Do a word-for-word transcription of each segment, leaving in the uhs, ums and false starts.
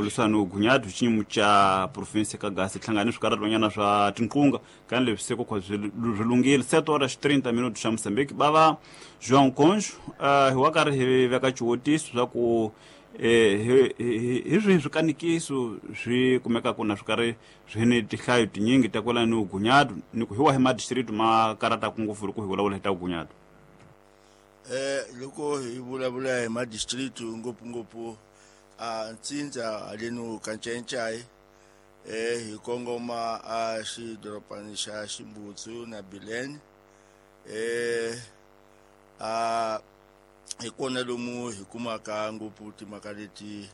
Lwisana ugunyadu xiyimo xa province ka Gasi hlangane swikarhatonyana swa tinqunga kan leswi se ku swi lunghile sete horas trinta minutos xa Moçambique bava João Conjo hi wa karhi hi veka xivutiso swa ku hi hi swihi swikanikiso swi kumekaka na swi karhi swi ni tinhlayo tinyingi ta kwala ni ugunyadu ni ku hi wahi madistrito ma karhataka ngopfu loko hi vulavula hi ta ugunyadu. Eh loko hi vulavula hi madistrito ngopfungopfu a Ntsindza haleno ka Ncayincai eh hi kongoma a xidorobana xa Ximbutsu na Bilene eh a hi kona lomu hi kumaka ngopfu timhaka leti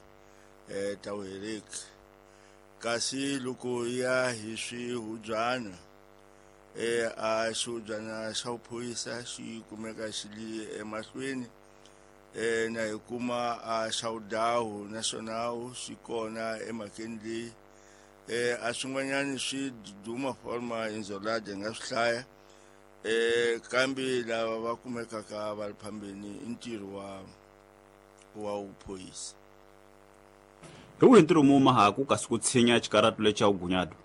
eh ta vuhereki. Kasi loko ya hi swihubyana eh a xihubyana xa vuphorisa xi kumeka xi li emahlweni eh na hi kuma a xawudawu naswona xi kona emhakeni leyi eh a swin'wanyana swi duma forma inzolade nga swi hlaya eh kambe lava va kumekaka va ri phambeni i ntirho wa wa vuphorisa. Hi wihi ntirho mu mahaku kasi ku tshinya xikaratu lexa ugunyadu?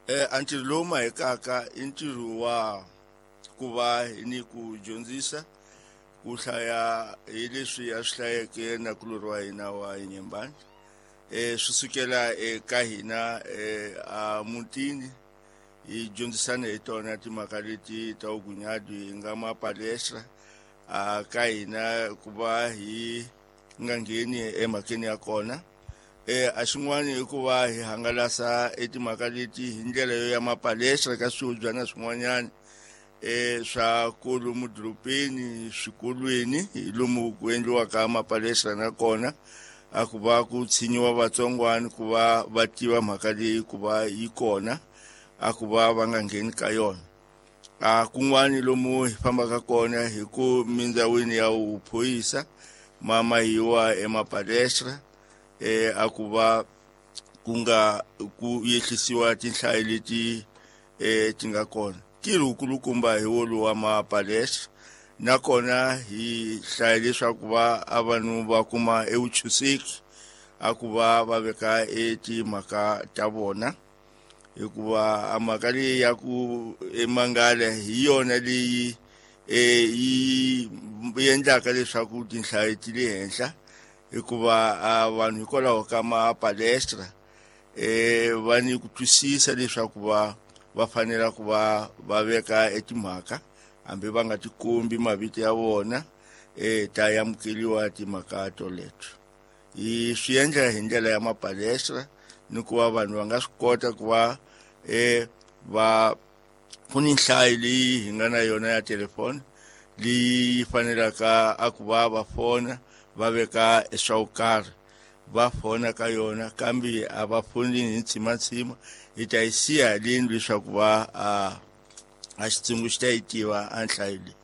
Eh a ntirho lowu mahekaka i ntirho wa ku va ni ku dyondzisa ku hlaya hi leswi a swi hlayeke na kulori wa hina wa Nyembani eh swi sukela eka hina eh a mutini hi dyondzisana hi tona timhaka leti ta ugunyadu hi nga mapalestra a ka hina ku va hi nga ngheni emhakeni ya kona. Eh a xin'wana i ku va hi hangalasa etimhaka leti hi ndlela yo ya mapalestra ka swihubyana swin'wanyana eh swa kolomu dorobeni swikolweni hi lomu ku endliwaka mapalestra na kona a ku va ku tshinyiwa vatsongwana ku va va tiva mhaka leyi ku va yi kona a ku va va nga ngheni ka yona. A kun'wani lomu hi fambaka kona hi ku mindzawini ya vuphorisa ma mahiwa emapalestra eh a ku va ku nga ku yehlisiwa tinhlayo leti eh ti nga kona. Ntirho wukulukumba hi wolowo wa mapalestra nakona hi hlaya leswaku va a vanhu va kuma evuchuseki a ku va va veka etimhaka ta vona hikuva a mhaka leyi ya ku emangala hi yona leyi eh yi endlaka leswaku tinhlayo ti le henhla hikuva a vanhu hikwalaho ka mapalestra eh va ni ku twisisa leswaku va va fanela ku va va veka etimhaka hambi va nga tikombi mavito ya vona eh ta amukeriwa timhaka toleto. Hi swi endla hi ndlela ya mapalestra ni ku va vanhu va nga swi kota ku va eh va ku ni nhlayo leyi hi nga na yona ya telefoni leyi fanelaka a ku va va fona va veka swa ku karhi va fona ka yona kambe a va foni hi ntsimantsima hi ta yi siya haleni leswaku va a a xitsungu xi ta yi tiva a nhlayo leyi.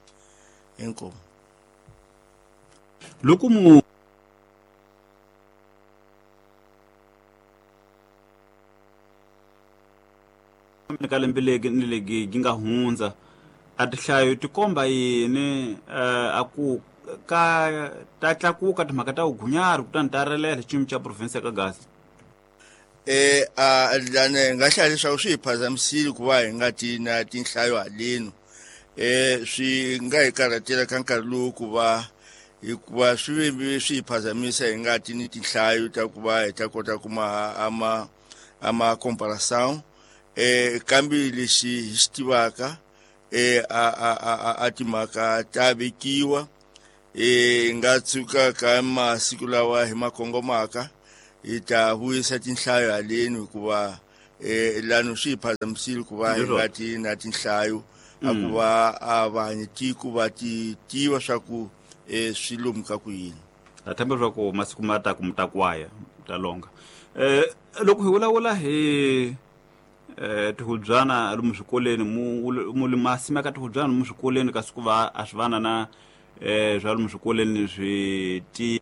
Inkomu. Loko mu ka lembe legi ni legi yi nga hundza a tinhlayo ti komba yini a ku ka ta tlakuka timhaka ta ugunyari kutani ta relela xiyimo xa province ka Gasi? Eh a lana hi nga hlaya leswaku swi hi phazamisile ku va hi nga ti na tinhlayo haleno eh swi nga hi karhatela ka nkarhi lowu ku va hikuva swi ve swi hi phazamisa hi nga ti ni tinhlayo ta ku va hi ta kota ku ma ama ama comparação eh kambe lexi hi xi tivaka eh a a a a timhaka ta vekiwa eh nga tshuka ka masiku lawa hi ma kongomaka hi ta vuyisa tinhlayo haleni hikuva eh lano swi hi phazamisile ku va hi nga ti na tinhlayo a ku va a vanhu tiko va ti tiva swa ku eh swi lomu ka ku yini. Ha themba swa ku masiku ma ta ku mi ta kwaya ta longa. Eh loko hi vulavula hi eh tihubyana lomu swikolweni mu mu ma simeka tihubyana lomu swikolweni kasi ku va a swi vana na eh swa lomu swikolweni swi ti